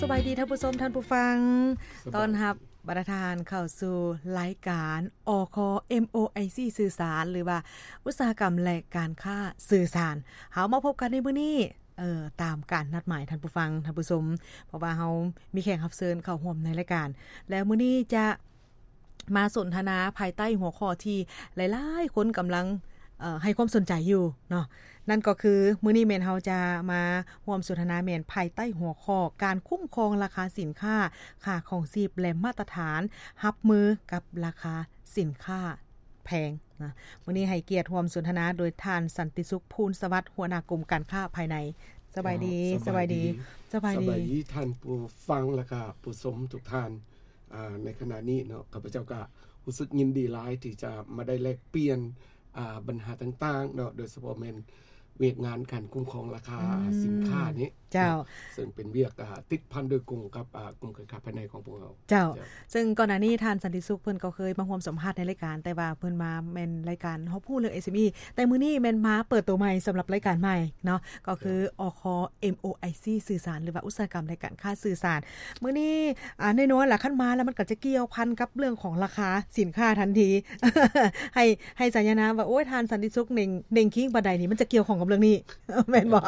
ສະບາຍດີທ່ານຜູ້ຊົມ ທ່ານຜູ້ຟັງ ສະບາຍດີ ຕ້ອນຮັບບັນດາທ່ານເຂົ້າສູ່ລາຍການ ອຄ ເອັມໂອໄອຊີ ສື່ສານ ຫຼືວ່າອຸດສາຫະກຳ ແລະ ການຄ້າສື່ສານ. ເຮົາມາພົບກັນໃນມື້ນີ້ ເອີ ຕາມການນັດໝາຍ ທ່ານຜູ້ຟັງ ທ່ານຜູ້ຊົມ ເພາະວ່າເຮົາມີແຂກຮັບເຊີນເຂົ້າຮ່ວມໃນລາຍການ ແລະ ມື້ນີ້ຈະ ມາສົນທະນາພາຍໃຕ້ຫົວຂໍ້ທີ່ຫຼາຍໆຄົນກຳລັງ ເອີ ໃຫ້ຄວາມສົນໃຈຢູ່ເນາະ ນັ້ນກໍຄື ມື້ນີ້ແມ່ນເຮົາຈະມາຮ່ວມສົນທະນາແມ່ນພາຍໃຕ້ຫົວຂໍ້ ການຄຸ້ມຄອງລາຄາສິນຄ້າ, ຄ່າຄອງຊີບ ແລະ ມາດຕະຖານຮັບມືກັບລາຄາສິນຄ້າແພງນະ. ມື້ນີ້ໃຫ້ກຽດຮ່ວມສົນທະນາໂດຍທ່ານ ສັນຕິສຸກ ພູນສະຫວັດ ຫົວໜ້າກົມການຄ້າພາຍໃນ. ສະບາຍດີ ເຈົ້າ ສະບາຍດີ ສະບາຍດີ ສະບາຍດີ ສະບາຍດີທ່ານຜູ້ຟັງ ແລະກະຜູ້ຊົມທຸກທ່ານ. ອ່າ ໃນຂະນະນີ້ເນາະ ຂ້າພະເຈົ້າກະຮູ້ສຶກຍິນດີຫຼາຍທີ່ຈະມາໄດ້ແລກປ່ຽນ ອ່າ ບັນຫາຕ່າງໆເນາະ ໂດຍສະເພາະແມ່ນວຽກງານການຄຸ້ມຄອງລາຄາ ອືມ ສິນຄ້ານີ້ ເຈົ້າ ເຊິ່ງເປັນວຽກ ອ່າ ຕິດພັນໂດຍກົງກັບ ອ່າ ກຸ່ມການຄ້າພາຍໃນຂອງພວກເຮົາ. ເຈົ້າ ເຈົ້າ ເຊິ່ງກ່ອນໜ້ານີ້ທ່ານ ສັນຕິສຸກ ເພິ່ນກໍເຄີຍມາຮ່ວມສຳພາດໃນລາຍການ ແຕ່ວ່າເພິ່ນມາແມ່ນລາຍການຮອບຮູ້ເລື່ອງ ເອັສເອັມອີ ແຕ່ມື້ນີ້ແມ່ນມາເປີດໂຕໃໝ່ສຳລັບລາຍການໃໝ່ເນາະ ກໍຄື ເຈົ້າ ອຄ ເອັມໂອໄອຊີ ສື່ສານ ຫຼືວ່າອຸດສາຫະກຳ ແລະ ການຄ້າສື່ສານ. ມື້ນີ້ ອ່າ ແນ່ນອນລະ ຄັນມາແລ້ວມັນກໍຈະກ່ຽວພັນກັບເລື່ອງຂອງລາຄາສິນຄ້າທັນທີ ໃຫ້ ໃຫ້ສາຍານາມວ່າ ໂອ້ຍ ທ່ານ ສັນຕິສຸກ ເໜັ່ງ ເໜັ່ງຄິງປານໃດນີ້ ມັນຈະກ່ຽວຂ້ອງກັບເລື່ອງນີ້ ແມ່ນບໍ່?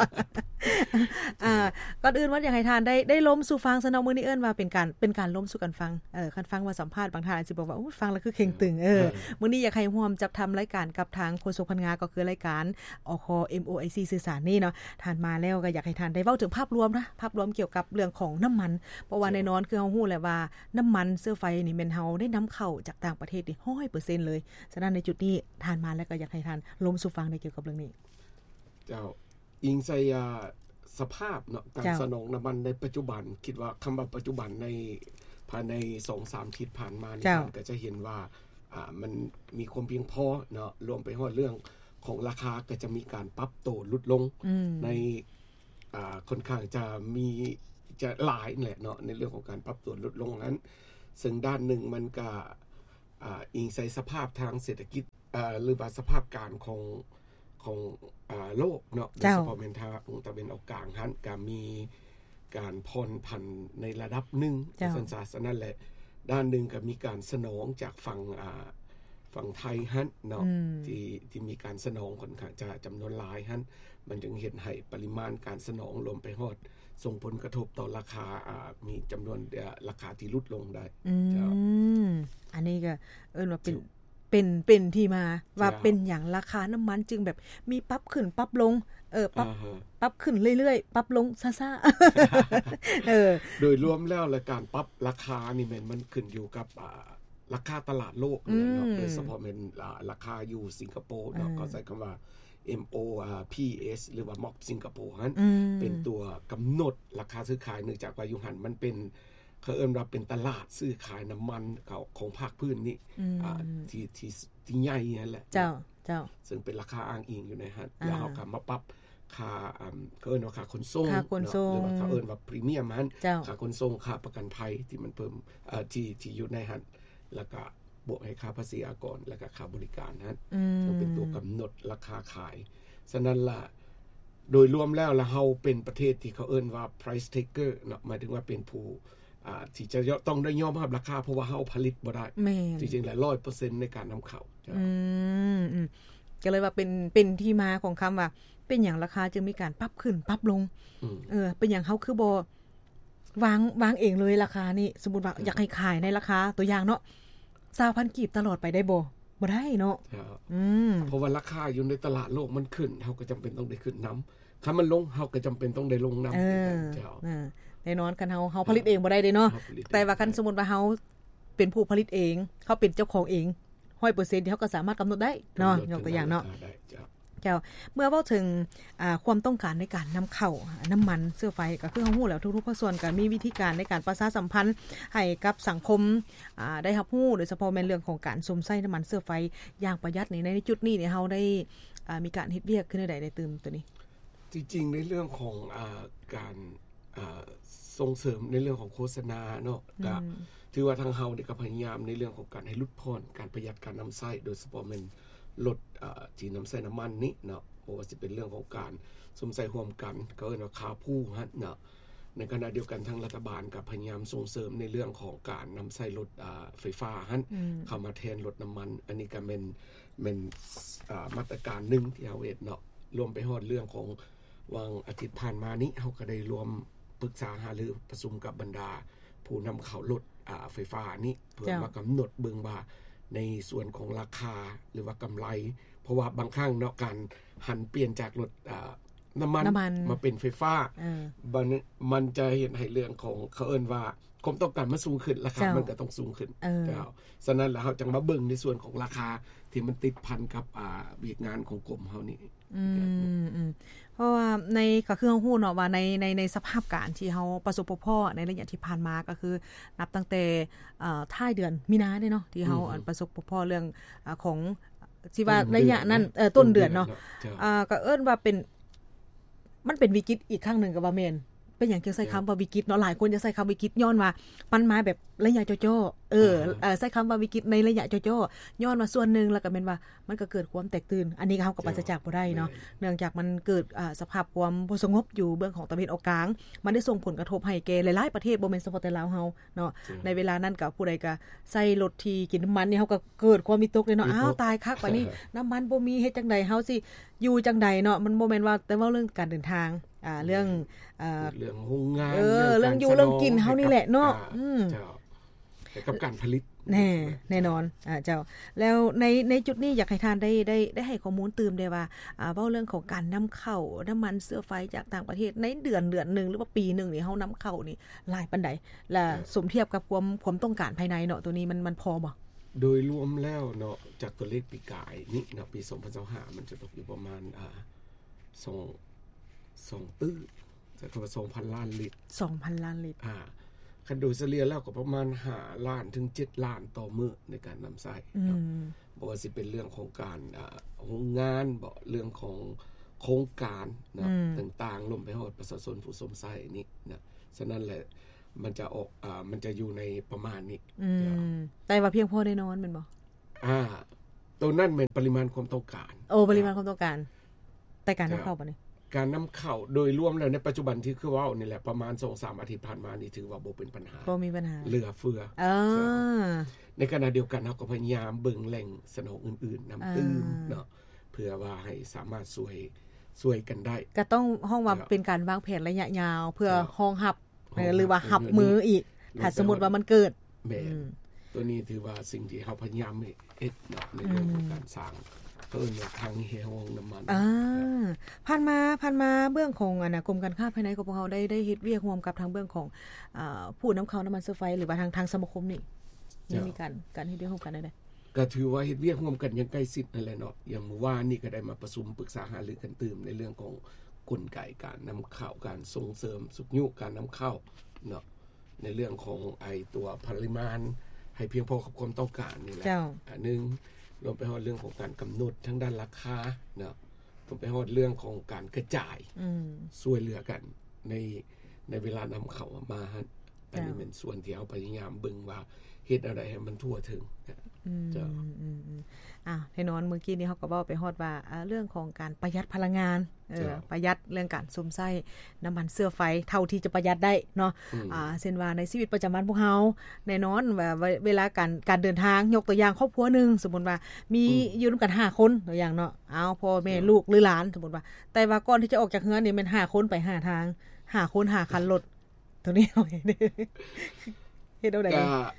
ອ່າ ກ່ອນອື່ນວ່າຢາກໃຫ້ທ່ານໄດ້ ໄດ້ລົມສູ່ຟັງຊະເນາະ ມື້ນີ້ເອີ້ນວ່າເປັນການ ເປັນການລົມສູ່ກັນຟັງ. ເອີ ຄັນຟັງວ່າສຳພາດ ບາງທ່ານອາດຊິບອກວ່າ ໂອ້ຍ ຟັງແລ້ວຄືເຄັ່ງຕຶງ. ເອີ ເອີ ມື້ນີ້ຢາກໃຫ້ຮ່ວມຈັດທຳລາຍການກັບທາງໂຄສົກພັນງາ ກໍຄືລາຍການ ອຄ ເອັມໂອໄອຊີ ສື່ສານນີ້ເນາະ. ທ່ານມາແລ້ວກໍຢາກໃຫ້ທ່ານໄດ້ເວົ້າເຖິງພາບລວມນະ ພາບລວມກ່ຽວກັບເລື່ອງຂອງນ້ຳມັນ ເພາະວ່າ ເຈົ້າ ແນ່ນອນຄືເຮົາຮູ້ແຫຼະວ່າ ນ້ຳມັນເຊື້ອໄຟນີ້ແມ່ນເຮົາໄດ້ນຳເຂົ້າຈາກຕ່າງປະເທດນີ້ຮ້ອຍເປີເຊັນເລີຍ. ສະນັ້ນໃນຈຸດນີ້ທ່ານມາແລ້ວກໍຢາກໃຫ້ທ່ານລົມສູ່ຟັງໃນກ່ຽວກັບເລື່ອງນີ້. ເຈົ້າ ອີງໃສ່ ອ່າ ສະພາບເນາະ ການ ເຈົ້າ ສະໜອງນ້ຳມັນໃນປັດຈຸບັນ ຄິດວ່າຄຳວ່າປັດຈຸບັນໃນ ພາຍໃນສອງສາມທິດຜ່ານມານີ້ ເຈົ້າ ທ່ານກໍຈະເຫັນວ່າ ອ່າ ມັນມີຄວາມພຽງພໍເນາະ ລວມໄປຮອດເລື່ອງຂອງລາຄາກໍຈະມີການປັບໂຕຫຼຸດລົງ ອືມ ໃນ ອ່າ ຄ່ອນຂ້າງຈະມີ ຈະຫຼາຍແຫຼະເນາະ ໃນເລື່ອງຂອງການປັບໂຕຫຼຸດລົງນັ້ນ. ເຊິ່ງດ້ານໜຶ່ງມັນກະ ອ່າ ອີງໃສ່ສະພາບທາງເສດຖະກິດ ເອີ ຫຼືວ່າສະພາບການຂອງ ຂອງ ເອີ ໂລກເນາະ ເຈົ້າ ໂດຍສະເພາະແມ່ນທາງຕາເວັນອອກກາງຫັ້ນ ກະມີການຜ່ອນຜັນໃນລະດັບໜຶ່ງ ເຈົ້າ ວ່າຊັ້ນຊະ. ສະນັ້ນແຫຼະ ດ້ານໜຶ່ງກະມີການສະໜອງຈາກຝັ່ງ ອ່າ ຝັ່ງໄທຫັ້ນເນາະ ອືມ ທີ່ ທີ່ມີການສະໜອງຂ້ອນຂ້າງຈະຈຳນວນຫຼາຍຫັ້ນ ມັນຈຶ່ງເຮັດໃຫ້ປະລິມານການສະໜອງລວມໄປຮອດ ສົ່ງຜົນກະທົບຕໍ່ລາຄາ ອ່າ ມີຈຳນວນ ເອີ ລາຄາທີ່ຫຼຸດລົງໄດ້ ອືມ ເຈົ້າ ອັນນີ້ກໍເອີ້ນວ່າເປັນ ເປັນ ເປັນທີ່ມາວ່າ ເຈົ້າ ເປັນຫຍັງລາຄານ້ຳມັນຈຶ່ງແບບມີປັບຂຶ້ນປັບລົງ ເອີ ປັບ ອ່າຮະ ປັບຂຶ້ນເລື້ອຍໆ ປັບລົງຊ້າໆ ເອີ ໂດຍລວມແລ້ວ ແລະ ການປັບລາຄານີ້ແມ່ນມັນຂຶ້ນຢູ່ກັບ ອ່າ ລາຄາຕະຫຼາດໂລກ ອືມ ເນາະ ໂດຍສະເພາະແມ່ນ ອ່າ ລາຄາຢູ່ສິງກະໂປເນາະ ເອີ ເຂົາໃຊ້ຄຳວ່າ ເອັມໂອ ອ່າ ພີເອສ ຫຼືວ່າ ມັອບ ສິງກະໂປຫັ້ນ ອືມ ເປັນຕົວກຳນົດລາຄາຊື້ຂາຍ ເນື່ອງຈາກວ່າຢູ່ຫັ້ນມັນເປັນ ເຂົາເອີ້ນວ່າເປັນຕະຫຼາດຊື້ຂາຍນ້ຳມັນຂອງ ຂອງພາກພື້ນນີ້ ອືມ ອ່າ ທີ່ ທີ່ ທີ່ໃຫຍ່ຫັ້ນແຫຼະ ເຈົ້າ ເຈົ້າ ເຊິ່ງເປັນລາຄາອ້າງອີງຢູ່ໃນຫັ້ນ ອ່າ ແລ້ວເຮົາກໍມາປັບຄ່າ ອ່າ ເຂົາເອີ້ນວ່າຄ່າຂົນສົ່ງ ຄ່າຂົນສົ່ງເນາະ ຫຼືວ່າເຂົາເອີ້ນວ່າພຣີມຽມຫັ້ນ ເຈົ້າ ຄ່າຂົນສົ່ງ ຄ່າປະກັນໄພທີ່ມັນເພີ່ມ ເອີ ທີ່ ທີ່ຢູ່ໃນຫັ້ນ ແລ້ວກໍບວກໃຫ້ຄ່າພາສີອາກອນ ແລ້ວກໍຄ່າບໍລິການຫັ້ນ ອືມ ເຊິ່ງເປັນຕົວກຳນົດລາຄາຂາຍ. ສະນັ້ນລະ ໂດຍລວມແລ້ວລະ ເຮົາເປັນປະເທດທີ່ເຂົາເອີ້ນວ່າ price taker ເນາະ ໝາຍເຖິງວ່າເປັນຜູ້ ອ່າ ທີ່ຈະຕ້ອງໄດ້ຍອມຮັບລາຄາ ເພາະວ່າເຮົາຜະລິດບໍ່ໄດ້ ແມ່ນ ທີ່ຈິງແລ້ວຮ້ອຍເປີເຊັນໃນການນຳເຂົ້າ ເຈົ້າ ອືມ ອືມ ກໍເລີຍວ່າເປັນ ເປັນທີ່ມາຂອງຄຳວ່າ ເປັນຫຍັງລາຄາຈຶ່ງມີການປັບຂຶ້ນປັບລົງ ອືມ ເອີ ເປັນຫຍັງເຮົາຄືບໍ່ວາງ ວາງເອງເລີຍລາຄານີ້? ສົມມຸດວ່າ ເອີ ຢາກໃຫ້ຂາຍໃນລາຄາ ຕົວຢ່າງເນາະ ຊາວພັນກີບຕະຫຼອດໄປໄດ້ບໍ່? ບໍ່ໄດ້ເນາະ ເຈົ້າ ອືມ ເພາະວ່າລາຄາຢູ່ໃນຕະຫຼາດໂລກມັນຂຶ້ນ ເຮົາກໍຈຳເປັນຕ້ອງໄດ້ຂຶ້ນນຳ ຄັນມັນລົງ ເຮົາກໍຈຳເປັນຕ້ອງໄດ້ລົງນຳ ເອີ ເຈົ້າ ເອີ ແນ່ນອນ ຄັນເຮົາ ເຮົາຜະລິດເອງບໍ່ໄດ້ເດ້ເນາະ ເຮົາຜະລິດ ແຕ່ວ່າຄັນ ເອງບໍ່ໄດ້ ສົມມຸດວ່າເຮົາເປັນຜູ້ຜະລິດເອງ ເຮົາເປັນເຈົ້າຂອງເອງຮ້ອຍເປີເຊັນ ທີ່ເຮົາກໍສາມາດກຳນົດໄດ້ເນາະ ກຳນົດ ຍົກຕົວຢ່າງເນາະ ກຳນົດລາຄາໄດ້ ເຈົ້າ ເຈົ້າ ເມື່ອເວົ້າເຖິງ ອ່າ ຄວາມຕ້ອງການໃນການນຳເຂົ້ານ້ຳມັນເຊື້ອໄຟ ກໍຄືເຮົາຮູ້ແລ້ວ ທຸກໆພາກສ່ວນກໍມີວິທີການໃນການປະຊາສຳພັນໃຫ້ກັບສັງຄົມ ອ່າ ໄດ້ຮັບຮູ້ ໂດຍສະເພາະແມ່ນເລື່ອງຂອງການຊົມໃຊ້ນ້ຳມັນເຊື້ອໄຟຢ່າງປະຢັດນີ້ ໃນ ໃນຈຸດນີ້ນີ້ ເຮົາໄດ້ ອ່າ ມີການເຮັດວຽກຄືແນວໃດໃນຕື່ມໂຕນີ້? ທີ່ຈິງໃນເລື່ອງຂອງ ອ່າ ການ ອ່າ ສົ່ງເສີມໃນເລື່ອງຂອງໂຄສະນາເນາະ ອືມ ກໍຖືວ່າທາງເຮົານີ້ກໍພະຍາຍາມໃນເລື່ອງຂອງການໃຫ້ຫຼຸດຜ່ອນການປະຢັດການນຳໃຊ້ ໂດຍສະເພາະແມ່ນລົດ ອ່າ ທີ່ນຳໃຊ້ນ້ຳມັນນີ້ເນາະ ບໍ່ວ່າຊິເປັນເລື່ອງຂອງການຊົມໃຊ້ຮ່ວມກັນ ເຂົາເອີ້ນວ່າ carpool ຫັ້ນເນາະ ໃນຂະນະດຽວກັນ ທາງລັດຖະບານກໍພະຍາຍາມສົ່ງເສີມໃນເລື່ອງຂອງການນຳໃຊ້ລົດ ອາ ໄຟຟ້າຫັ້ນ ອືມ ເຂົ້າມາແທນລົດນ້ຳມັນ. ອັນນີ້ກໍແມ່ນ ແມ່ນ ອາ ມາດຕະການໜຶ່ງທີ່ເຮົາເຮັດເນາະ. ລວມໄປຮອດເລື່ອງຂອງ ຫວ່າງອາທິດຜ່ານມານີ້ ເຮົາກໍໄດ້ລວມປຶກສາຫາລືປະຊຸມກັບບັນດາຜູ້ນຳເຂົ້າລົດ ອາ ໄຟຟ້ານີ້ ເພື່ອ ເຈົ້າ ມາກຳນົດເບິ່ງວ່າ ໃນສ່ວນຂອງລາຄາ ຫຼືວ່າກຳໄລ ເພາະວ່າບາງຄັ້ງເນາະ ການຫັນປ່ຽນຈາກລົດ ອາ ນ້ຳມັນ ນ້ຳມັນ ມາເປັນໄຟຟ້າ ເອີ ມັນ ມັນຈະເຮັດໃຫ້ເລື່ອງຂອງ ເຂົາເອີ້ນວ່າ ຄວາມຕ້ອງການມັນສູງຂຶ້ນ ລາຄາ ເຈົ້າ ມັນກໍຕ້ອງສູງຂຶ້ນ ເອີ ເຈົ້າ. ສະນັ້ນແລ້ວ ເຮົາຈັ່ງມາເບິ່ງໃນສ່ວນຂອງລາຄາທີ່ມັນຕິດພັນກັບ ອາ ວຽກງານຂອງກົມເຮົານີ້. ອືມ ເຈົ້າ ອືມ ເພາະວ່າໃນ ກໍຄືເຮົາຮູ້ເນາະວ່າໃນ ໃນ ໃນສະພາບການທີ່ເຮົາປະສົບພົບພໍ້ໃນໄລຍະທີ່ຜ່ານມາ ກໍຄືນັບຕັ້ງແຕ່ ເອີ ທ້າຍເດືອນມີນາເດ້ເນາະ ທີ່ເຮົາ ອືມ ປະສົບພົບພໍ້ເລື່ອງ ອາ ຂອງ ຊິວ່າໄລຍະນັ້ນ ຕົ້ນເດືອນເນາະ ເອີ ຕົ້ນເດືອນເນາະ ເຈົ້າ ອາ ກໍເອີ້ນວ່າເປັນ ມັນເປັນວິກິດອີກຄັ້ງໜຶ່ງກໍວ່າແມ່ນ. ເປັນຫຍັງຈຶ່ງໃຊ້ຄຳວ່າວິກິດເນາະ? ເຈົ້າ ຫຼາຍຄົນຈະໃຊ້ຄຳວິກິດ ຍ້ອນວ່າມັນມາແບບໄລຍະຈໍ້ໆ ເອີ ອ່າຮະ ເອີ ໃຊ້ຄຳວ່າວິກິດໃນໄລຍະຈໍ້ໆ ຍ້ອນວ່າສ່ວນໜຶ່ງ ແລ້ວກໍແມ່ນວ່າມັນກໍເກີດຄວາມແຕກຕື່ນ ອັນນີ້ເຮົາກໍປາສຈາກບໍ່ໄດ້ເນາະ ເຈົ້າ ແມ່ນ ເນື່ອງຈາກມັນເກີດ ອາ ສະພາບຄວາມບໍ່ສະຫງົບຢູ່ເບື້ອງຂອງຕາເວັນອອກກາງ ມັນໄດ້ສົ່ງຜົນກະທົບໃຫ້ແກ່ຫຼາຍໆປະເທດ ບໍ່ແມ່ນສະເພາະແຕ່ລາວເຮົາເນາະ ເຈົ້າ ໃນເວລານັ້ນກໍຜູ້ໃດກໍໃຊ້ລົດທີ່ກິນນ້ຳມັນນີ້ ເຮົາກໍເກີດຄວາມວິຕົກເລີຍເນາະ ວິຕົກ ອ້າວ ຕາຍຄັກ ບາດນີ້ນ້ຳມັນບໍ່ມີ ເຮັດຈັ່ງໃດ ເຮົາຊິ ຢູ່ຈັ່ງໃດເນາະ? ມັນບໍ່ແມ່ນວ່າແຕ່ເວົ້າເລື່ອງການເດີນທາງ ອ່າ ເລື່ອງ ເອີ ເລື່ອງໂຮງງານ ເອີ ເລື່ອງ ເລື່ອງຢູ່ເລື່ອງກິນເຮົານີ້ແຫຼະເນາະ ອືມ ເຈົ້າ ແລະກັບການຜະລິດ ແນ່ ແນ່ນອນ ອາ ເຈົ້າ. ແລ້ວໃນ ໃນຈຸດນີ້ຢາກໃຫ້ທ່ານໄດ້ ໄດ້ ໄດ້ໃຫ້ຂໍ້ມູນຕື່ມໄດ້ວ່າ ອາ ເວົ້າເລື່ອງຂອງການນຳເຂົ້ານ້ຳມັນເຊື້ອໄຟຈາກຕ່າງປະເທດ ໃນເດືອນ ເດືອນໜຶ່ງ ຫຼືວ່າປີໜຶ່ງນີ້ ເຮົານຳເຂົ້ານີ້ຫຼາຍປານໃດ? ແລະ ເຈົ້າ ສົມທຽບກັບຄວາມ ຄວາມຕ້ອງການພາຍໃນເນາະ ໂຕນີ້ມັນ ມັນພໍບໍ່? ໂດຍລວມແລ້ວເນາະ ຈາກຕົວເລກປີກາຍນີ້ເນາະ ປີສອງພັນຊາວຫ້າ ມັນຈະຕົກຢູ່ປະມານ ອາ ສອງ ສອງຕື້ ຈະເທົ່າກັບສອງພັນລ້ານລິດ ສອງພັນລ້ານລິດ ອາ ຄັນໂດຍສະເລ່ຍແລ້ວກໍປະມານຫ້າລ້ານເຖິງເຈັດລ້ານຕໍ່ມື້ໃນການນຳໃຊ້ເນາະ ອືມ ບໍ່ວ່າຊິເປັນເລື່ອງຂອງການ ອາ ໂຮງງານເບາະ ເລື່ອງຂອງໂຄງການເນາະ ອືມ ຕ່າງໆ ລວມໄປຮອດປະຊາຊົນຜູ້ຊົມໃຊ້ນີ້ນະ. ສະນັ້ນແຫຼະ ມັນຈະອອກ ອາ ມັນຈະຢູ່ໃນປະມານນີ້ ອືມ ເຈົ້າ ແຕ່ວ່າພຽງພໍແນ່ນອນແມ່ນບໍ່? ອາ ໂຕນັ້ນແມ່ນປະລິມານຄວາມຕ້ອງການ ໂອ້ ປະລິມານຄວາມຕ້ອງການ ແຕ່ການນຳເຂົ້າ ເຈົ້າ ບາດນີ້ ການນຳເຂົ້າໂດຍລວມແລ້ວໃນປັດຈຸບັນທີ່ຄືເວົ້ານີ້ແຫຼະ ປະມານສອງສາມອາທິດຜ່ານມານີ້ ຖືວ່າບໍ່ເປັນບັນຫາ ບໍ່ມີບັນຫາ ເຫຼືອເຟືອ ເອີ ເຈົ້າ. ໃນຂະນະດຽວກັນ ເຮົາກໍພະຍາຍາມເບິ່ງແຫຼ່ງສະໜອງອື່ນໆນຳຕື່ມ ເອີ ເນາະ ເພື່ອວ່າໃຫ້ສາມາດຊ່ວຍ ຊ່ວຍກັນໄດ້ ກໍຕ້ອງຮ້ອງວ່າ ເຈົ້າ ເປັນການວາງແຜນໄລຍະຍາວ ເພື່ອ ເຈົ້າ ຮອງຮັບ ເອີ ຫຼືວ່າຮັບມືອີກ ແມ່ນ ຖ້າສົມມຸດວ່າມັນເກີດ ແມ່ນ ອືມ ໂຕນີ້ຖືວ່າສິ່ງທີ່ເຮົາພະຍາຍາມເຮັດເນາະ ໃນເລື່ອງຂອງ ອືມ ການສ້າງ ເອີ້ນວ່າຄັງແຮ່ຮອງນ້ຳມັນ ອ່າ ເນາະ. ຜ່ານມາ ຜ່ານມາເບື້ອງຂອງ ອັນນ່າ ກົມການຄ້າພາຍໃນຂອງພວກເຮົາໄດ້ ໄດ້ເຮັດວຽກຮ່ວມກັບທາງເບື້ອງຂອງ ອາ ຜູ້ນຳເຂົ້ານ້ຳມັນເຊື້ອໄຟ ຫຼືວ່າທາງ ທາງສະມາຄົມນີ້ ເຈົ້າ ໄດ້ມີການ ການເຮັດວຽກຮ່ວມກັນແນວໃດ? ກໍຖືວ່າເຮັດວຽກຮ່ວມກັນຢ່າງໃກ້ຊິດນັ້ນແຫຼະເນາະ. ຢ່າງມື້ວານນີ້ກໍໄດ້ມາປະຊຸມປຶກສາຫາລືກັນຕື່ມ ໃນເລື່ອງຂອງກົນໄກການນຳເຂົ້າ ການສົ່ງເສີມຊຸກຍູ້ການນຳເຂົ້າເນາະ ໃນເລື່ອງຂອງໄອ້ຕົວປະລິມານໃຫ້ພຽງພໍກັບຄວາມຕ້ອງການນີ້ແຫຼະ ເຈົ້າ ອັນໜຶ່ງ. ລວມໄປຮອດເລື່ອງຂອງການກຳນົດທາງດ້ານລາຄາເນາະ ລວມໄປຮອດເລື່ອງຂອງການກະຈາຍ ອືມ ຊ່ວຍເຫຼືອກັນໃນ ໃນເວລານຳເຂົ້າມາຫັ້ນ ອັນນີ້ ເຈົ້າ ແມ່ນສ່ວນທີ່ເຮົາພະຍາຍາມເບິ່ງວ່າເຮັດແນວໃດໃຫ້ມັນທົ່ວເຖິງ ອືມ ເຈົ້າ ອືມ ອືມ ອືມ ອ່າ ແນ່ນອນ ມື້ກີ້ນີ້ເຮົາກໍເວົ້າໄປຮອດວ່າ ເອີ ເລື່ອງຂອງການປະຢັດພະລັງງານ ເອີ ເຈົ້າ ປະຢັດເລື່ອງການສຸມໃຊ້ນ້ຳມັນເຊື້ອໄຟເທົ່າທີ່ຈະປະຢັດໄດ້ເນາະ ອືມ ອ່າ ເຊັ່ນວ່າໃນຊີວິດປະຈຳວັນພວກເຮົາ ແນ່ນອນວ່າ ເວ ເວລາການ ການເດີນທາງ ຍົກຕົວຢ່າງຄອບຄົວໜຶ່ງ ສົມມຸດວ່າມີ ອືມ ຢູ່ນຳກັນຫ້າຄົນ ຕົວຢ່າງເນາະ ເອົາ ພໍ່ແມ່ ເຈົ້າ ລູກ ຫຼື ຫຼານ ສົມມຸດວ່າ ແຕ່ວ່າກ່ອນທີ່ຈະອອກຈາກເຮືອນນີ້ແມ່ນຫ້າຄົນໄປຫ້າທາງ ຫ້າຄົນຫ້າຄັນລົດ ໂຕນີ້ເຮົາເຮັດ ເຮັດແນວໃດ? ກະ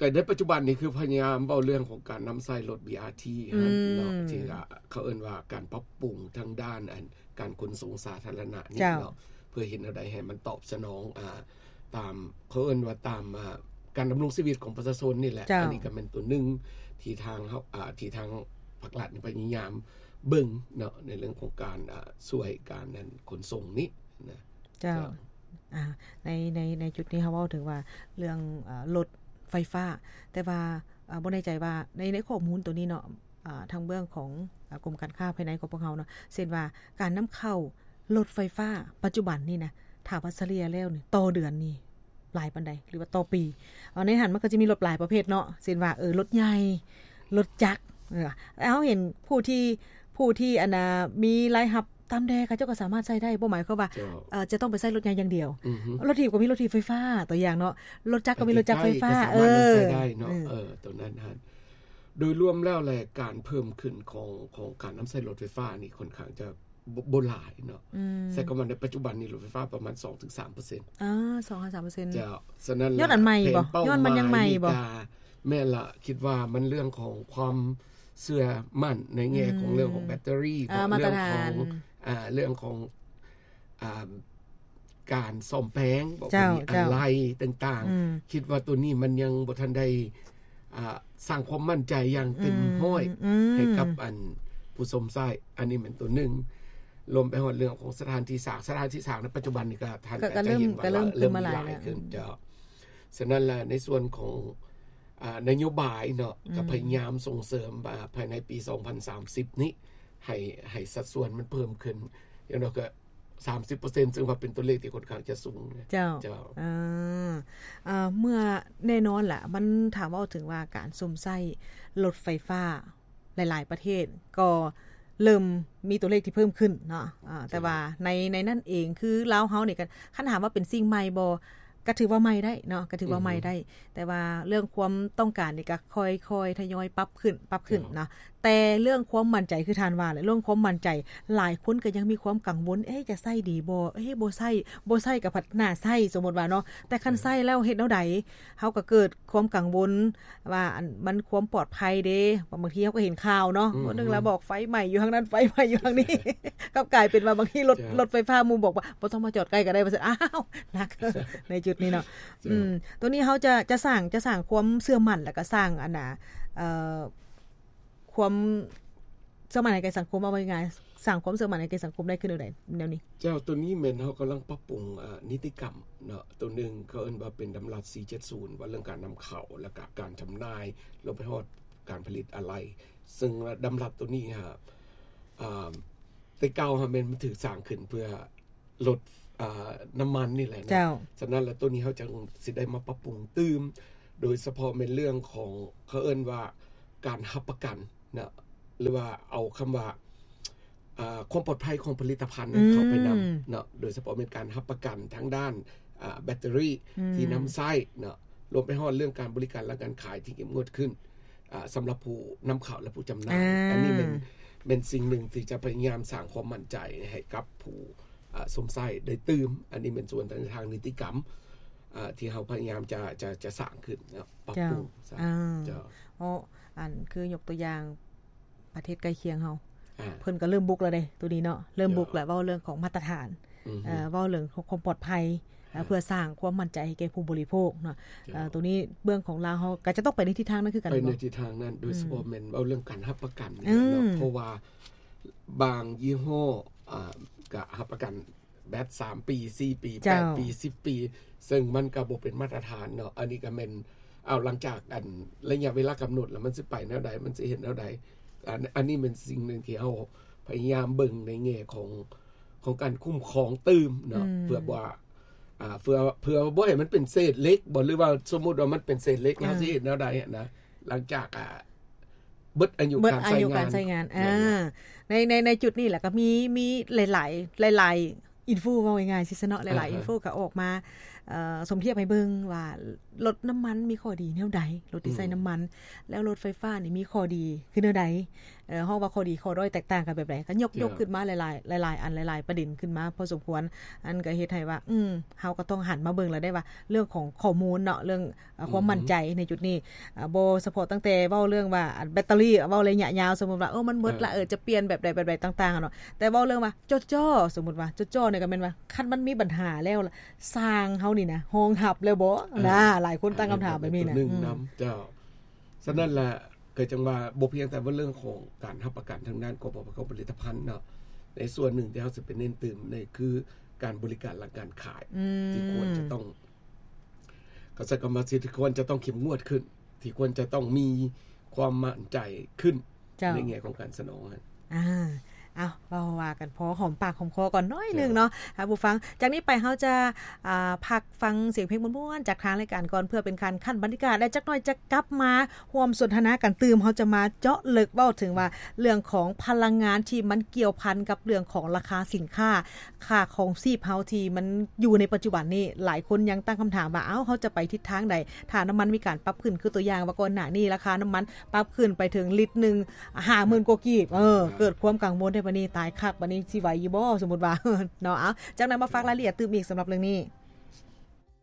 ກະໃນປັດຈຸບັນນີ້ຄືພະຍາຍາມເວົ້າເລື່ອງຂອງການນຳໃຊ້ລົດ ບີອາທີ ຫັ້ນເນາະ ອືມ ທີ່ວ່າເຂົາເອີ້ນວ່າການປັບປຸງທາງດ້ານອັນການຂົນສົ່ງສາທາລະນະນີ້ ເຈົ້າ ເນາະ ເພື່ອເຮັດແນວໃດໃຫ້ມັນຕອບສະໜອງ ອ່າ ຕາມ ເຂົາເອີ້ນວ່າຕາມ ອ່າ ການດຳລົງຊີວິດຂອງປະຊາຊົນນີ້ແຫຼະ ເຈົ້າ ອັນນີ້ກໍແມ່ນຕົວໜຶ່ງທີ່ທາງເຮົາ ອ່າ ທີ່ທາງພາກລັດນີ້ພະຍາຍາມເບິ່ງເນາະ ໃນເລື່ອງຂອງການ ອ່າ ຊ່ວຍການ ອັນ ຂົນສົ່ງນີ້ນະ ເຈົ້າ ເຈົ້າ. ອ່າ ໃນ ໃນ ໃນຈຸດນີ້ເຮົາເວົ້າເຖິງວ່າເລື່ອງ ເອີ ລົດໄຟຟ້າ ແຕ່ວ່າ ເອີ ບໍ່ແນ່ໃຈວ່າໃນ ໃນຂໍ້ມູນໂຕນີ້ເນາະ ອ່າ ທາງເບື້ອງຂອງ ເອີ ກົມການຄ້າພາຍໃນຂອງພວກເຮົາເນາະ ເຊັ່ນວ່າການນຳເຂົ້າລົດໄຟຟ້າປັດຈຸບັນນີ້ນະ ຖ້າວ່າສະເລ່ຍແລ້ວນີ້ ຕໍ່ເດືອນນີ້ຫຼາຍປານໃດ ຫຼືວ່າຕໍ່ປີ? ເອົາ ໃນຫັ້ນມັນກໍຈະມີລົດຫຼາຍປະເພດເນາະ ເຊັ່ນວ່າ ເອີ ລົດໃຫຍ່ ລົດຈັກ ເອີ ເຮົາເຫັນຜູ້ທີ່ ຜູ້ທີ່ ອັນນ່າ ມີລາຍຮັບ ຕາມແດ່ ເຂົາເຈົ້າກໍສາມາດໃຊ້ໄດ້ ບໍ່ໝາຍຄວາມວ່າ ເຈົ້າ ເອີ ຈະຕ້ອງໄປໃຊ້ລົດໃຫຍ່ຢ່າງດຽວ. ອືຮຶ ລົດຖີບກໍມີລົດຖີບໄຟຟ້າ ຕົວຢ່າງເນາະ ລົດຈັກກໍມີລົດຈັກໄຟຟ້າ ເອີ ໄປໃກ້ໆກໍສາມາດນຳໃຊ້ໄດ້ເນາະ ເອີ ເອີ ຕົວນັ້ນຫັ້ນ. ໂດຍລວມແລ້ວແຫຼະ ການເພີ່ມຂຶ້ນຂອງ ຂອງການນຳໃຊ້ລົດໄຟຟ້ານີ້ຄ່ອນຂ້າງຈະ ບໍ່ ບໍ່ຫຼາຍເນາະ ອືມ ໃຊ້ຄຳວ່າໃນປັດຈຸບັນນີ້ລົດໄຟຟ້າປະມານສອງເຖິງສາມເປີເຊັນ ອ່າ ສອງຫາສາມເປີເຊັນ ເຈົ້າ. ສະນັ້ນ ຍ້ອນອັນໃໝ່ບໍ່ ແຜນເປົ້າໝາຍນີ້ກະ ຍ້ອນມັນຍັງໃໝ່ບໍ່ ແມ່ນລະ ຄິດວ່າມັນເລື່ອງຂອງຄວາມເຊື່ອໝັ້ນໃນແງ່ຂອງ ອືມ ເລື່ອງຂອງແບັດເຕີຣີ ອ່າ ເນາະ ມາດຕະຖານ ເລື່ອງຂອງ ອ່າ ເລື່ອງຂອງ ອ່າ ການສ້ອມແປງ ເຈົ້າ ອາໄຫຼ່ຕ່າງໆ ອືມ ຄິດວ່າໂຕນີ້ມັນຍັງບໍ່ທັນໄດ້ ອ່າ ສ້າງຄວາມໝັ້ນໃຈຢ່າງເຕັມຮ້ອຍ ອືມ ໃຫ້ກັບ ອືມ ອັນຜູ້ຊົມໃຊ້ ອັນນີ້ແມ່ນໂຕໜຶ່ງ. ລວມໄປຮອດເລື່ອງຂອງສະຖານທີ່ສ້າງ ສະຖານທີ່ສ້າງໃນປັດຈຸບັນນີ້ກໍ ທ່ານກໍ ກໍເລີ່ມ ກໍຈະເຫັນວ່າ ກໍເລີ່ມ ເລີ່ມມີຫຼາຍຫຼາຍແລ້ວ ຂຶ້ນ ອືມ ເຈົ້າ. ສະນັ້ນລະ ໃນສ່ວນຂອງ ອ່າ ນະໂຍບາຍເນາະ ອືມ ກໍພະຍາຍາມສົ່ງເສີມ ອ່າ ພາຍໃນປີສອງພັນສາມສິບນີ້ ໃຫ້ ໃຫ້ສັດສ່ວນມັນເພີ່ມຂຶ້ນ ຢ່າງໜ້ອຍກໍ ສາມສິບເປີເຊັນ ຊຶ່ງວ່າເປັນຕົວເລກທີ່ຄ່ອນຂ້າງຈະສູງ. ເຈົ້າ ເຈົ້າ ເອີ ເອີ ເມື່ອ ແນ່ນອນລະ ມັນ ຖ້າເວົ້າເຖິງວ່າການຊົມໃຊ້ລົດໄຟຟ້າ ຫຼາຍໆປະເທດກໍເລີ່ມມີຕົວເລກທີ່ເພີ່ມຂຶ້ນເນາະ ເອີ ເຈົ້າ ແຕ່ວ່າໃນ ໃນນັ້ນເອງ ຄືລາວເຮົານີ້ກໍ ຄັນຖາມວ່າເປັນສິ່ງໃໝ່ບໍ່ ກໍຖືວ່າໃໝ່ໄດ້ເນາະ ກໍຖືວ່າໃໝ່ໄດ້ ອືຮຶ ແຕ່ວ່າເລື່ອງຄວາມຕ້ອງການນີ້ກໍຄ່ອຍໆທະຍອຍປັບຂຶ້ນ ປັບຂຶ້ນເນາະ ເຈົ້າ ແຕ່ເລື່ອງຄວາມໝັ້ນໃຈ ຄືທ່ານວ່າແຫຼະ ເລື່ອງຄວາມໝັ້ນໃຈ ຫຼາຍຄົນກໍຍັງມີຄວາມກັງວົນ ເອະ ຈະໃຊ້ດີບໍ່ ເອະ ບໍ່ໃຊ້ ບໍ່ໃຊ້ກໍພັດໜ້າໃຊ້ ສົມມຸດວ່າເນາະ ແຕ່ຄັນ ເອີ ໃຊ້ແລ້ວເຮັດແນວໃດ ເຮົາກໍເກີດຄວາມກັງວົນວ່າ ອັນ ມັນຄວາມປອດໄພເດ້ ບາງທີເຮົາກໍເຫັນຂ່າວເນາະ ອືມ ມື້ໜຶ່ງລະບອກໄຟໄໝ້ຢູ່ທາງນັ້ນ ໄຟໄໝ້ຢູ່ທາງນີ້ ກັບກາຍເປັນວ່າບາງທີລົດ ເຈົ້າ ລົດໄຟຟ້າໝູ່ບອກວ່າບໍ່ຕ້ອງມາຈອດໃກ້ກໍໄດ້ ວ່າຊັ້ນ ອ້າວ ໜັກ ໃນຈຸດນີ້ເນາະ ເຈົ້າ ອືມ ໂຕນີ້ເຮົາຈະ ຈະສ້າງ ຈະສ້າງຄວາມເຊື່ອໝັ້ນ ແລ້ວກໍສ້າງ ອັນນ່າ ເອີ ຄວາມເຊື່ອໝັ້ນໃຫ້ແກ່ສັງຄົມ ເວົ້າງ່າຍໆ ສ້າງຄວາມເຊື່ອໝັ້ນໃຫ້ແກ່ສັງຄົມໄດ້ຄືແນວໃດ ແນວນີ້? ເຈົ້າ ໂຕນີ້ແມ່ນເຮົາກຳລັງປັບປຸງ ເອີ ນິຕິກຳເນາະ ໂຕໜຶ່ງເຂົາເອີ້ນວ່າເປັນດຳລັດສີ່ເຈັດສູນ ວ່າເລື່ອງການນຳເຂົ້າ ແລ້ວກະການຈຳໜ່າຍ ລວມໄປຮອດການຜະລິດອາໄຫຼ່ ເຊິ່ງວ່າດຳລັດໂຕນີ້ຫາ ອ່າ ແຕ່ເກົ່າຫາແມ່ນມັນຖືກສ້າງຂຶ້ນເພື່ອລົດ ອ່າ ນ້ຳມັນນີ້ແຫຼະເນາະ ເຈົ້າ ສະນັ້ນແລ້ວໂຕນີ້ເຮົາຈັ່ງຊິໄດ້ມາປັບປຸງຕື່ມ ໂດຍສະເພາະແມ່ນເລື່ອງຂອງ ເຂົາເອີ້ນວ່າການຮັບປະກັນເນາະ ຫຼືວ່າເອົາຄຳວ່າ ອ່າ ຄວາມປອດໄພຂອງຜະລິດຕະພັນ ອືມ ເຂົ້າໄປນຳເນາະ ໂດຍສະເພາະແມ່ນການຮັບປະກັນທາງດ້ານ ອ່າ ແບັດເຕີຣີ ອືມ ທີ່ນຳໃຊ້ເນາະ ລວມໄປຮອດເລື່ອງການບໍລິການຫຼັງການຂາຍທີ່ເຂັ້ມງວດຂຶ້ນ ອ່າ ສຳລັບຜູ້ນຳເຂົ້າ ແລະ ຜູ້ຈຳໜ່າຍ ອ່າ ອັນນີ້ແມ່ນ ແມ່ນສິ່ງໜຶ່ງທີ່ຈະພະຍາຍາມສ້າງຄວາມໝັ້ນໃຈໃຫ້ກັບຜູ້ ອ່າ ຊົມໃຊ້ໄດ້ຕື່ມ ອັນນີ້ແມ່ນສ່ວນທາງ ທາງນິຕິກຳ ອ່າ ທີ່ເຮົາພະຍາຍາມຈະ ຈະ ຈະສ້າງຂຶ້ນເນາະ ປັບປຸງ ເຈົ້າ ສ້າງ ອ່າ ເຈົ້າ ເນາະ ອັນຄືຍົກຕົວຢ່າງ ປະເທດໃກ້ຄຽງເຮົາ ອ່າ ເພິ່ນກໍເລີ່ມບຸກແລ້ວເດ້ ໂຕນີ້ເນາະ ເລີ່ມບຸກແລ້ວ ເຈົ້າ ເວົ້າເລື່ອງຂອງມາດຕະຖານ ອືຮຶ ເອີ ເວົ້າເລື່ອງຂອງຄວາມປອດໄພ ເອີ ເຈົ້າ ເພື່ອສ້າງຄວາມໝັ້ນໃຈໃຫ້ແກ່ຜູ້ບໍລິໂພກເນາະ ເຈົ້າ ເອີ ໂຕນີ້ເບື້ອງຂອງລາວເຮົາກໍຈະຕ້ອງໄປໃນທິດທາງນັ້ນຄືກັນ ໄປໃນທິດທາງນັ້ນ ໂດຍ ອືມ ສະເພາະແມ່ນເວົ້າເລື່ອງການຮັບປະກັນນີ້ແຫຼະເນາະ ອືມ ເພາະວ່າບາງຍີ່ຫໍ້ ອ່າ ກໍຮັບປະກັນ ແບັດສາມປີ ສີ່ປີ ເຈົ້າ ແປດປີ ສິບປີ ເຊິ່ງມັນກໍບໍ່ເປັນມາດຕະຖານເນາະ ອັນນີ້ກໍແມ່ນ ເອົາ ຫຼັງຈາກ ອັນ ໄລຍະເວລາກຳນົດແລ້ວ ມັນຊິໄປແນວໃດ ມັນຊິເຮັດແນວໃດ ອັນ ອັນນີ້ແມ່ນສິ່ງໜຶ່ງທີ່ເຮົາພະຍາຍາມເບິ່ງໃນແງ່ຂອງ ຂອງການຄຸ້ມຄອງຕື່ມເນາະ ອືມ ເພື່ອບໍ່ ອ່າ ເພື່ອ ເພື່ອບໍ່ໃຫ້ມັນເປັນເສດເຫຼັກບໍ ຫຼືວ່າສົມມຸດວ່າມັນເປັນເສດເຫຼັກ ເອີ ເຮົາຊິເຮັດແນວໃດຫັ້ນນະ ຫຼັງຈາກ ອ່າ ເບິດອາຍຸ ເບິດອາຍຸການໃຊ້ງານ ການໃຊ້ງານ ອ່າ ແມ່ນບໍ່ ໃນ ໃນ ໃນຈຸດນີ້ແຫຼະ ກໍມີ ມີຫຼາຍໆ ຫຼາຍໆ ອິນຟູ ເວົ້າງ່າຍໆຊິຊະເນາະ ຫຼາຍໆ ອ່າຮະ ອິນຟູກໍອອກມາ ເອີ ສົມທຽບໃຫ້ເບິ່ງວ່າລົດນ້ຳມັນມີຂໍ້ດີແນວໃດ ລົດທີ່ໃຊ້ ອືມ ນ້ຳມັນ ແລ້ວລົດໄຟຟ້ານີ້ມີຂໍ້ດີຄືແນວໃດ ເອີ ເຮົາວ່າຂໍ້ດີຂໍ້ດ້ອຍແຕກຕ່າງກັນແບບໃດ ກໍຍົກ ເຈົ້າ ຍົກຂຶ້ນມາຫຼາຍໆ ຫຼາຍໆ ອັນ ຫຼາຍໆ ປະເດັນຂຶ້ນມາພໍສົມຄວນ ອັນກໍເຮັດໃຫ້ວ່າ ອືມ ເຮົາກໍຕ້ອງຫັນມາເບິ່ງແລ້ວໄດ້ວ່າ ເລື່ອງຂອງຂໍ້ມູນເນາະ ເລື່ອງ ເອີ ຄວາມໝັ້ນໃຈໃນຈຸດນີ້ ອືຮຶ ອາ ບໍ່ສະເພາະຕັ້ງແຕ່ເວົ້າເລື່ອງວ່າ ອາ ແບັດເຕີຣີ ເວົ້າໄລຍະຍາວ ສົມມຸດວ່າ ເອີ ມັນເບິດລະ ເອີ ຈະປ່ຽນແບບໃດແບບໃດຕ່າງໆເນາະ ແຕ່ເວົ້າເລື່ອງວ່າ ຈໍ້ໆ ສົມມຸດວ່າ ຈໍ້ໆນີ້ກໍແມ່ນວ່າ ຄັນມັນມີບັນຫາແລ້ວ ຊ່າງເຮົານີ້ນະ ຮອງຮັບແລ້ວບໍ່ ອ່າ ນະ ຫຼາຍຄົນຕັ້ງຄຳຖາມແບບນີ້ນະ ອັນນີ້ກໍເປັນຕົວໜຶ່ງນຳ ອືມ ເຈົ້າ ສະນັ້ນລະ ກໍຈັ່ງວ່າບໍ່ພຽງແຕ່ວ່າເລື່ອງຂອງການຮັບປະກັນທາງດ້ານກອງປະກອບຜະລິດຕະພັນເນາະ ໃນສ່ວນໜຶ່ງທີ່ເຮົາຊິໄປເນັ້ນຕື່ມນີ້ຄືການບໍລິການຫຼັງການຂາຍ ອືມ ທີ່ຄວນຈະຕ້ອງ ກໍໃຊ້ຄຳວ່າທີ່ຄວນຈະຕ້ອງເຂັ້ມງວດຂຶ້ນ ທີ່ຄວນຈະຕ້ອງມີຄວາມໝັ້ນໃຈຂຶ້ນ ເຈົ້າ ໃນແງ່ຂອງການສະໜອງຫັ້ນ ອ່າ ເອົາ ເວົ້າວ່າກັນພໍຫອມປາກຫອມຄໍກ່ອນໜ້ອຍໜຶ່ງເນາະ ເຈົ້າ ທ່ານຜູ້ຟັງ. ຈາກນີ້ໄປເຮົາຈະ ອ່າ ພັກຟັງສຽງເພງມ່ວນໆ ຈາກທາງລາຍການກ່ອນ ເພື່ອເປັນການຂັ້ນບັນຍາກາດ ແລະ ຈັກໜ້ອຍຈະກັບມາຮ່ວມສົນທະນາກັນຕື່ມ. ເຮົາຈະມາເຈາະເລິກເວົ້າເຖິງວ່າ ເລື່ອງຂອງພະລັງງານທີ່ມັນກ່ຽວພັນກັບເລື່ອງຂອງລາຄາສິນຄ້າ ຄ່າຄອງຊີບເຮົາທີ່ມັນຢູ່ໃນປັດຈຸບັນນີ້ ຫຼາຍຄົນຍັງຕັ້ງຄຳຖາມວ່າ ເອົ້າ ເຮົາຈະໄປທິດທາງໃດ ຖ້ານ້ຳມັນມີການປັບຂຶ້ນ ຄືຕົວຢ່າງວ່າກ່ອນໜ້ານີ້ລາຄານ້ຳມັນປັບຂຶ້ນໄປເຖິງລິດໜຶ່ງຫ້າໝື່ນກວ່າກີບ ເອີ ເກີດຄວາມກັງວົນໄດ້ ບັດນີ້ຕາຍຄັກ ບັດນີ້ຊິໄຫວຢູ່ບໍ່ ສົມມຸດວ່າເນາະ. ເອົາ ຈັກໜ້ອຍມາຝາກລາຍລະອຽດຕື່ມອີກສຳລັບເລື່ອງນີ້.